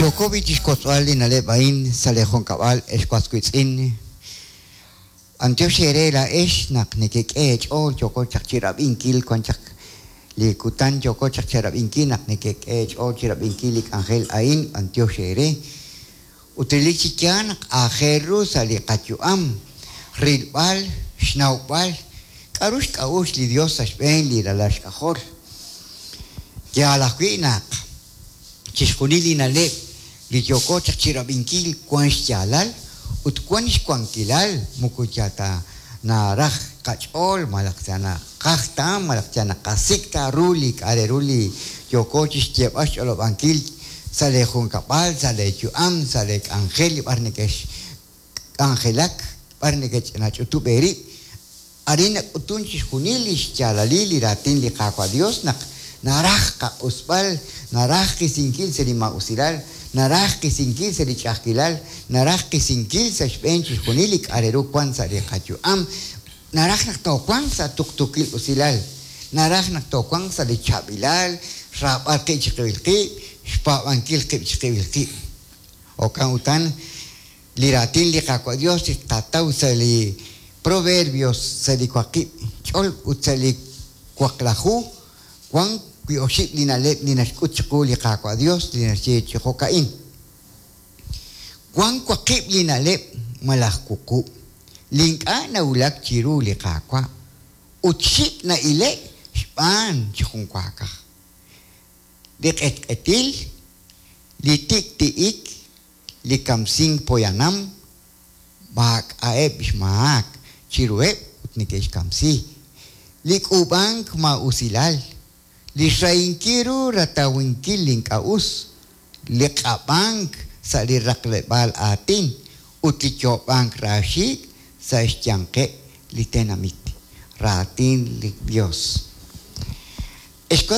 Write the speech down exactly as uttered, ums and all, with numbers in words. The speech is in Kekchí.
Yooko b'i chixwotzb'al li na'leb' a'in sa' li junkab'al ex was wiitz'in. B'antiox eere laa'ex naq nekek'e eech'ool yooko chaq chirab'inkil wan chaq li kutan yooko chaq chirab'inkil naq nekek'e eech'ool chirab'inkil li k'anjel a'in b'antiox eere. Ut relik chi yaal naq aajel ru sa' li qayu'am rilb'al xnawb'al k'a'ru xk'a'uxl li Dios sa' xb'een li ralal xk'ajol. Yaal ajwi' naq chixjunil li na'leb' li yooko chaq chirab'inkil wan xyaalal ut wan xwankilal moko yal ta naraj qach'ool malaj ta naqaj ta malaj ta naqasik' ta ru li k'a' re ru li yooko chixyeeb'al xch'olob'ankil sa' lee junkab'al, sa' lee yu'am, sa' lee k'anjel li b'ar neke'xk'anjelak, b'ar neke'ch'inach'utub' eerib'. Arin nak'utun chixjunil li xyaalalil li raatin li Qaawa' Dios naq naraj qaq'usb'al, naraj qisinkil sa' li maa'usilal, naraj qisinkil sa' li ch'a'ajkilal, naraj qisinkil sa' xb'een chixjunil li k'a' re ru wan sa' li qayu'am, naraj naq toowanq sa' tuqtuukil usilal, naraj naq toowanq sa' li chaab'ilal, xraab'al qib' chiqib'il qib', xpaab'ankil qib' chiqib'il qib'. Jo'kan utan li raatin li Qaawa' Dios li tqataw sa' li Proverbios sa' li waqib' ch'ol ut sa' li waqlaju wan wi oxib' li na'leb' li naxk'ut chiqu li Qaawa' Dios li naxye chi jo'ka'in. Wan waqib' li na'leb' malaj wuqub' li ink'a' nawulak chiru li Qaawa' ut xik' na'ilek xb'aan chi junwaakaj. Li q'etq'etil, li tik'ti'ik, li kamsink poyanam, maak'a'eb' xmaak chiruheb' ut neke'xkamsi. Li k'uub'ank maa'usilal, li xrahinkil ru ratawinkil li ink'a' us, li q'ab'ank sa' li raqleb'aal aatin ut li yoob'ank raaxiik' sa' xyanqeb' li tenamit. Raatin li Dios.